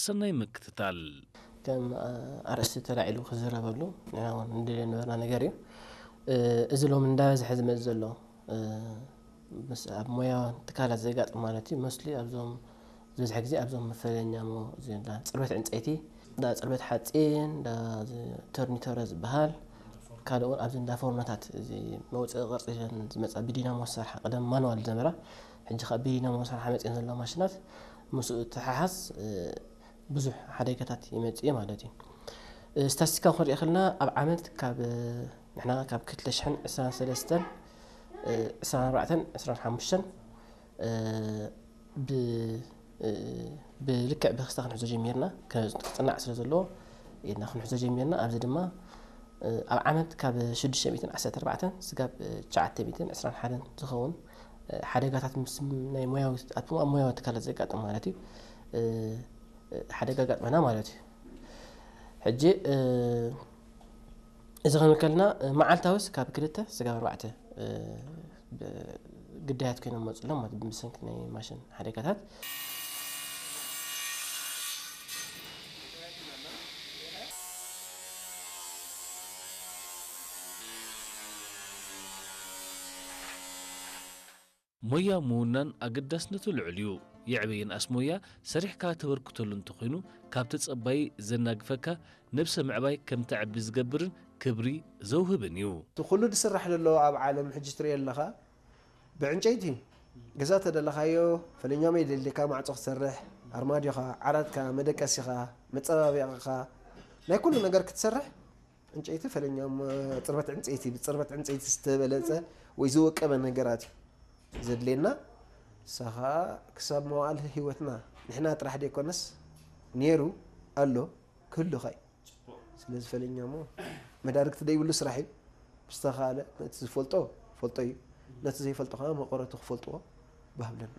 ሰናይ ምክትታል። ከም ኣርእስቲ ተላዒሉ ክዝረበሉ ንሕና እውን ንደልዮ ነበርና ነገር እዩ። እዚ ሎም እንዳበዝሐ ዝመፅ ዘሎ ምስ ኣብ ሞያ ትካላት ዘጋጥም ማለት እዩ። መስሊ ኣብዞም ዝበዝሐ ግዜ ኣብዞም መፈለኛ ሞ እዚ እንዳ ፅርበት ዕንፀይቲ፣ እንዳ ፅርበት ሓፂን፣ እንዳ ተርኒተረ ዝበሃል፣ ካልእ እውን ኣብዚ እንዳ ፎርኖታት እዚ መውፅኢ ቅርፂ ኢለን ዝመፃ ብዲናሞ ዝሰርሓ፣ ቀደም ማንዋል ዝነበራ፣ ሕጂ ካብ ብዲናሞ ዝሰርሓ መፅእን ዘለዋ ማሽናት ምስኡ ተሓሓዝ ብዙሕ ሓደጋታት ይመፅእ ማለት እዩ። ስታስቲካ ክንሪኢ ከለና ኣብ ዓመት ካብ ንሕና ካብ ክልተ ሽሕን ዕስራን ሰለስተን ዕስራን ኣርባዕተን ዕስራን ሓሙሽተን ብልክዕ ብክስታ ክንሕዞ ጀሚርና፣ ክፅናዕ ስለ ዘለዎ ኢልና ክንሕዞ ጀሚርና። ኣብዚ ድማ ኣብ ዓመት ካብ ሽዱሽተ ሚእትን ዓሰርተ ኣርባዕተን ስጋብ ትሽዓተ ሚእትን ዕስራን ሓደን ዝኸውን ሓደጋታት ምስ ናይ ሞያዊ ኣብ ሞያዊ ትካላት ዘጋጥም ማለት እዩ ሓደጋ ኣጋጥመና ማለት እዩ። ሕጂ እዚ ክንብል ከለና መዓልታዊስ ካብ ክልተ ስጋብ ኣርባዕተ ግዳያት ኮይኖም መፅሎም ማለት ብሰንኪ ናይ ማሽን ሓደጋታት። ሞያ ምውናን ኣገዳስነቱ ልዑል እዩ። የዕበ ይንኣስ ሞያ ሰሪሕካ ተበርክተሉ እንተኾይኑ ካብ ተጸባይ ዘናግፈካ ነብሰ ምዕባይ ከም ተዕቢ ዝገብርን ክብሪ ዘውህብን እዩ። እቲ ኩሉ ዝስራሕ ዘሎ ኣብ ዓለም ሕጂ ትሪኦ ኣለኻ ብዕንጨይቲ እዩ። ገዛ ተደለኻዮ ፈለኛም የደልካ ማዕጾ ክትሰርሕ ኣርማድዮኻ፣ ዓራትካ፣ መደቀሲኻ፣ መጸባበቂኻ ናይ ኩሉ ነገር ክትሰርሕ ዕንጨይቲ ፈለኛም ጽርበት ዕንጨይቲ ብጽርበት ዕንጨይቲ ዝተበለጸ ወይ ዝወቀበ ነገራት እዩ ዘድልየና። ንሳ ኸኣ ክሳብ መዋእል ህይወትና ንሕና ጥራሕ ደይኮነስ ነይሩ ኣሎ ክህሉ ኸ እዩ። ስለዚ ፈለኛ እሞ መዳርግቲ ደይብሉ ስራሕ እዩ። ብዝተኻለ ነቲ ዝፈልጦ ፈልጦ እዩ፣ ነቲ ዘይፈልጦ ከዓ መቐረቱ ክፈልጥዎ ባህብለና።